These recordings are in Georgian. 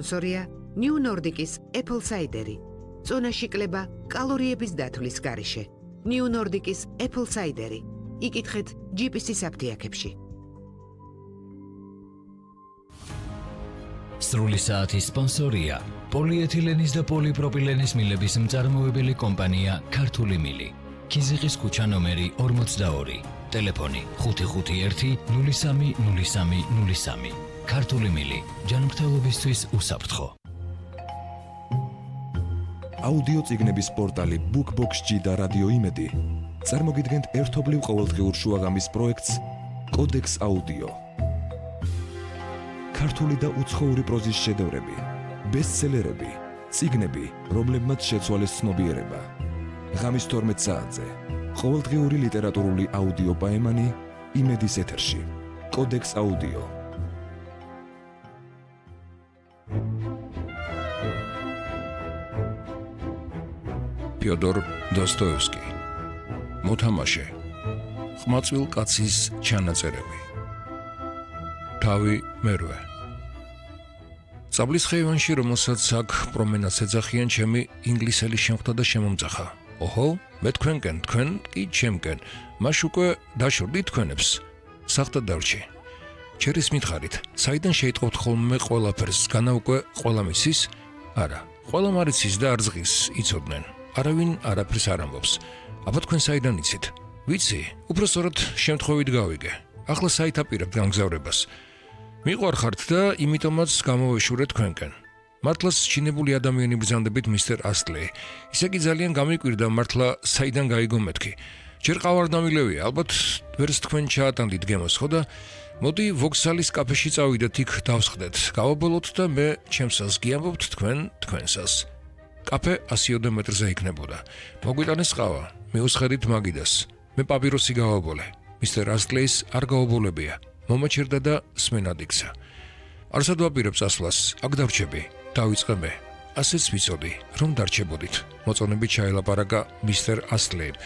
სპონსორია New Nordic-ის Apple Cider-ი. წონაში კლება კალორიების დათვლის გარეშე. New Nordic-ის Apple Cider-ი. იკითხეთ GPS-ის აფთიაქებში. სრული საათის სპონსორია პოლიეთილენის და პოლიპროპილენის მილების მწარმოებელი კომპანია ქართული მილი. ქიზიყის ქუჩა ნომერი 42. ტელეფონი 551 03 03 03. ქართული მილი ჯანმრთელობისთვის უსაფრთხო. აუდიო წიგნების პორტალი BookBox-G და რადიო იმედი წარმოგიდგენთ ერთობლივ ყოველდღიურ შუაღამის პროექტს კოდექს აუდიო. ქართული და უცხოური პროზის შედევრები, ბესტსელერები, წიგნები, რომლებმაც შეცვალეს ცნობიერება. ღამის 12 საათზე ყოველდღიური ლიტერატურული აუდიო პაემანი იმედის ეთერში. კოდექს აუდიო. ფიოდორ დოსტოევსკი. მოთამაშე. ხმაწვილ კაცის ჩანაწერები. თავი მერვე. წაბლის ხეივანში, რომელსაც აქ პრომენადს ეძახიან, ჩემი ინგლისელი შემხვდა და შემომძახა. ოჰო, მე თქვენკენ, თქვენ კი ჩემკენ. მაშ უკვე დაშორდით თქვენებს. სახტად დარჩი. ჩერის მითხარით, საიდან შეიტყობთ ხოლმე ყველაფერს, განა უკვე ყველა მიცის? არა, ყველა მარიცის და არზღის იცოდნენ. არავინ არაფერს არ ამბობს. აბა თქვენ საიდან იცით? ვიცი, უბრალოდ შემთხვევით გავიგე. ახლა საით აპირებთ გამგზავრებას. მიყვარხართ და იმიტომაც გამოვეშურეთ თქვენკენ. მართლაც ჩინებული ადამიანი ბრძანდებით მისტერ ასტლეი. ისე კი ძალიან გამიკვირდა მართლა საიდან გაიგო მეთქი. ჯერ ყავარდამილევია, ალბათ ვერც თქვენ ჩაატანდით გემოს, ხო და მოდი ვოქსალის კაფეში წავიდეთ, იქ დავსხდეთ. გავაბოლოთ და მე ჩემსას გიამბობთ, თქვენ თქვენსას. კაფე 100 მეტრზე იქნებოდა. მოგვიტანეს ყავა, მიუსხედით მაგიდას. მე პაპიროსი გავაბოლე. მისტერ ასტლეის არ გაობოლებია. მომაჩერდა და სმენად იქცა. არსად ვაპირებს ასვლას, აქ დავრჩები. დავიწყე მე. ასეც ვიცოდი, რომ დარჩებოდით. მოწონებით ჩაელაპარაკა მისტერ ასტლეიმ.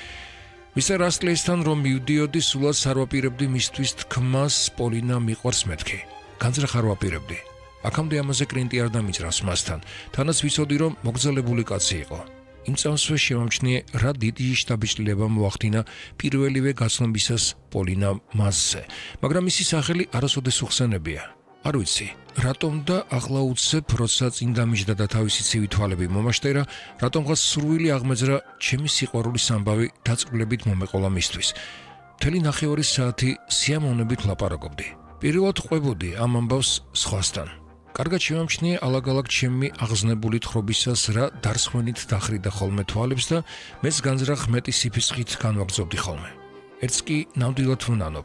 მისტერ ასტლეისთან რომ მივდიოდი, სულაც არ ვაპირებდი მისთვის თქმას პოლინა მიყვარს მეთქი. განზრახ არ ვაპირებდი. აქამდე ამაზე კრინტი არ დამიძრავს მასთან. თანაც ვიცოდი, რომ მოგზალებული კაცი იყო. იმ წამსვე შემამჩნიე, რა დიდი შტაბიჭლილება მოახდინა პირველივე გაცნობისას პოლინა მასზე. მაგრამ მისი სახელი არასოდეს უხსენებია. არ ვიცი, რატომ და ახლა უცებ, როცა წინ დამიჯდა და თავისი ცივი თვალები მომაშტერა, რატომღაც სურვილი აღმეძრა ჩემი სიყვარულის ამბავი დაწყვილებით მომეყოლა მისთვის. მთელი 9 საათი სიამოვნებით ლაპარაკობდი. პირველად ყვებოდი ამ ამბავს სხვასთან. კარგად შემამჩნიე ალაგ-ალაგ ჩემი აღზნებული თხრობისას რა დარსხვენით დახრიდა ხოლმე თვალებს და მეც განზრახ მეტი სიფისხით განვაგრძობდი ხოლმე. ერთს კი ნამდვილად ვნანობ,